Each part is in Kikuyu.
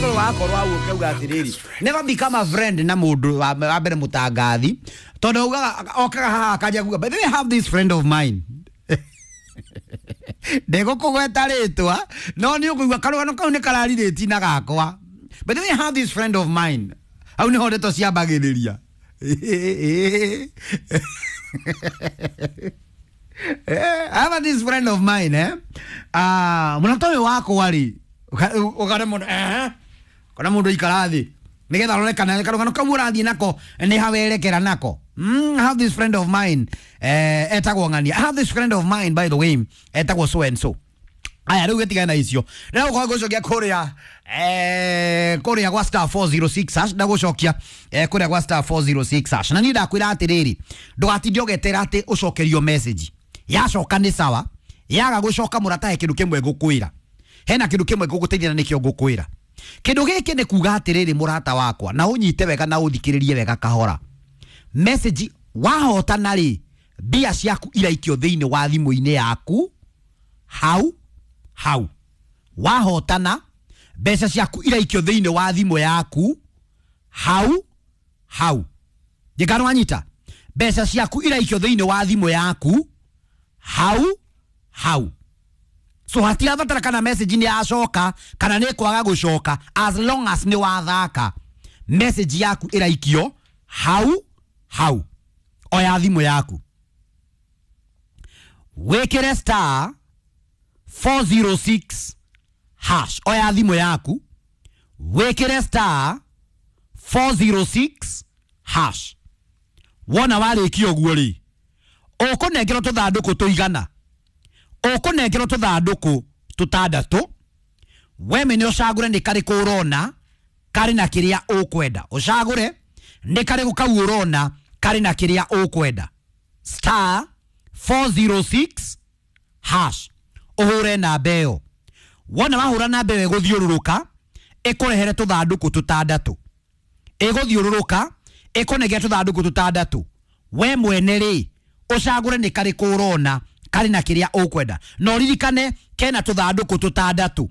Wagĩrĩirwo wakorwo hau ũkauga atĩrĩrĩ, never become a friend na mũndũ wa mbere mũtangathi, tondũ augaga okaga haha akanjia kuga, "By the way, I have this friend of mine." Ndegũkũgweta rĩtwa, no nĩ ũkũigua karũgano kau nĩ kararirĩti na gakwa. "By the way, I have this friend of mine." Hau nĩho ndeto ciambagĩrĩria. I have this friend of mine, eh? Ah, mũrata ũyũ wakwa rĩ, ũkare mũndũ, eh? Kana mũndũ ikara thĩ nĩgetha arore kana karũgano kau ũrathiĩ nako nĩ hawerekera nako. I have this friend of mine, etagwo ng'ania. I have this friend of mine, by the way, etagwo so and so. Aya, rĩu gĩtigane na icio, ndĩragũkorwo ngũcokia kũrĩa kũrĩa gwa *406#, ndagũcokia kũrĩa gwa *406#. Na niĩ ndakwĩra atĩrĩrĩ, ndũgatinde ũgetera atĩ ũcokerio message. Yacoka nĩ sawa, yaga gũcoka, mũrata, he kĩndũ kĩmwe ngũkwĩra, hena kĩndũ kĩmwe ngũgũteithia, na nĩkĩo ngũkwĩra. Kĩndũ gĩkĩ nĩ kuga atĩrĩrĩ, mũrata wakwa, na ũnyite wega na ũthikĩrĩrie wega kahora. Message wahotana rĩ, mbia ciaku iraikio thĩinĩ wa thimũ-inĩ yaku hau hau. Wahotana, mbeca ciaku iraikio thĩinĩ wa thimũ yaku hau hau. Njĩkano wanyita, mbeca ciaku iraikio thĩinĩ wa thimũ yaku hau hau. So hatirabatara kana message nĩ yacoka kana nĩ kwaga gũcoka. As long as nĩ wathaka, message yaku ĩraikio hau hau. Oya thimũ yaku, wĩkĩre *406#. Oya thimũ yaku, wĩkĩre *406#. Wona warĩkia ũguo rĩ, ũkũnengerwo tũthandũkũ tũigana, ũkũnengerwo tũthandũkũ tũtandatũ. We mene ũcagũre nĩ karĩkũ ũrona karĩ na kĩrĩa ũkwenda. Ũcagũre nĩ karĩkũ kau ũrona karĩ na kĩrĩa ũkwenda. *406#, ũhũre namba ĩyo. Wona wahũra namba ĩyo, ĩgũthiũrũrũka ĩkũrehere tũthandũkũ tũtandatũ. Ĩgũthiũrũrũka ĩkũnengere tũthandũkũ tũtandatũ. We mwene rĩ, ũcagũre nĩ karĩkũ ũrona karĩ na kĩrĩa ũkwenda. Na ũririkane kena tũthandũkũ tũtandatũ,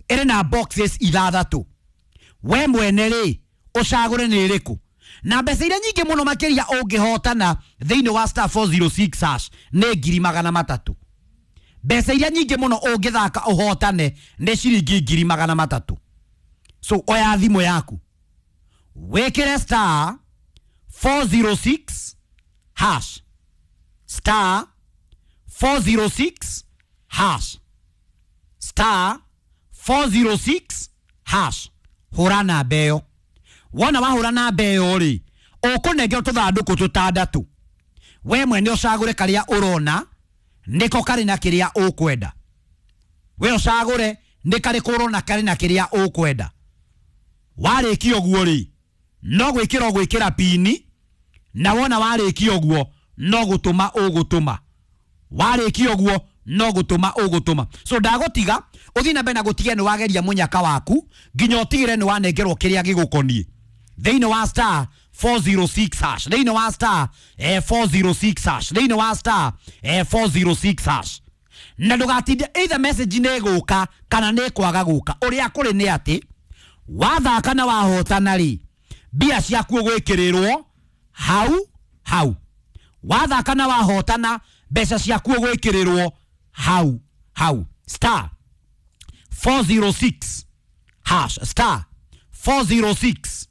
ĩrĩ na boxes ithathatũ. We mwene rĩ, ũcagũre nĩ ĩrĩkũ. Na mbeca iria nyingĩ mũno makĩria ũngĩhotana thĩinĩ wa *406# nĩ 300,000. Mbeca iria nyingĩ mũno ũngĩthaka ũhotane nĩ ciringi 300,000. So oya thimũ yaku, wĩkĩre *406#, *406#, *406#. Hũra namba ĩyo. Wona wahũra namba ĩyo rĩ, ũkũnengerwo tũthandũkũ tũtandatũ. We mwene ũcagũre karĩa ũrona nĩko karĩ na kĩrĩa ũkwenda. We ũcagũre nĩ karĩkũ ũrona karĩ na kĩrĩa ũkwenda. Warĩkia ũguo rĩ, no gwĩkĩra ũgwĩkĩra pini, na wona warĩkia ũguo, no gũtũma ũgũtũma. Warĩkia ũguo, no gũtũma ũgũtũma. So ndagũtiga ũthiĩ na mbere na gũtigia nĩ wageria mũnyaka waku nginya ũtigĩre nĩ wanengerwo kĩrĩa gĩgũkoniĩ thĩinĩ wa *406#, thĩinĩ wa *406#, thĩinĩ wa *406#. Na ndũgatinde, either message nĩ ĩgũka kana nĩ ĩkwaga gũka, ũrĩa kũrĩ nĩ atĩ wathaka na wahotana rĩ, mbia ciaku ũgwĩkĩrĩrwo hau hau. Wathaka na wahotana, mbeca ciaku ũgwĩkĩrĩrwo hau hau. *406#, *406#.